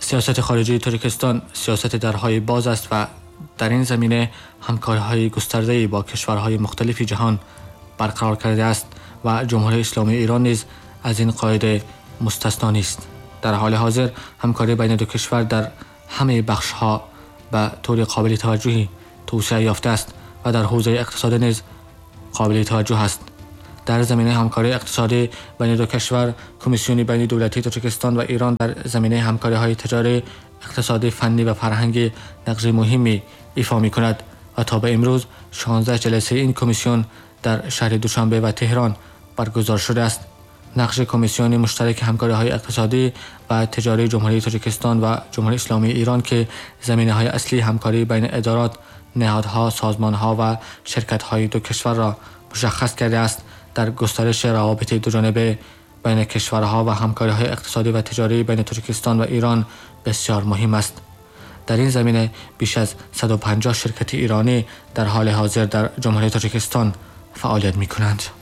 Сиёсати хориҷии Тоҷикистон сиёсати дарҳои боз аст ва дар ин замина ҳамкориҳои густардае бо кишварҳои мухталифи ҷаҳон барқарор кардааст ва Ҷумҳурии Исломии Эрон низ аз ин қоида мустасно нест. Дар ҳоли ҳозир ҳамкорӣ байни ду кишвар дар ҳамаи бахшҳо ба таври қобили таваҷҷӯҳӣ тавсеа ёфтааст ва дар ҳавзаи иқтисодӣ низ қобили таваҷҷӯҳ аст. Дар заминаи ҳамкории иқтисодӣ байни ду кишвар, Комиссияи байнидавлатии Тоҷикистон ва Эрон дар заминаи ҳамкориҳои тиҷорӣ, иқтисодӣ, фаннӣ ва фарҳангӣ нақши муҳиме ифо мекунад ва то ба имрӯз 16 ҷаласаи ин комиссия дар шаҳри Душанбе ва Теҳрон баргузор шудааст. Нақши Комиссияи муштараки ҳамкориҳои иқтисодӣ ва тиҷории Ҷумҳурии Тоҷикистон ва Ҷумҳурии Исломии Эрон, ки заминаҳои асосии ҳамкорӣ байни идорот, ниҳодҳо, созмонҳо ва ширкатҳои ду кишварро мушаххас кардааст, дар густариши равобити дуҷониба байни кишварҳо ва ҳамкориҳои иқтисодӣ ва тиҷорӣ байни Тоҷикистон ва Эрон бисёр муҳим аст. Дар ин замина беш аз 150 ширкати эронӣ дар ҳоли ҳозир дар Ҷумҳурии Тоҷикистон фаъолият мекунанд.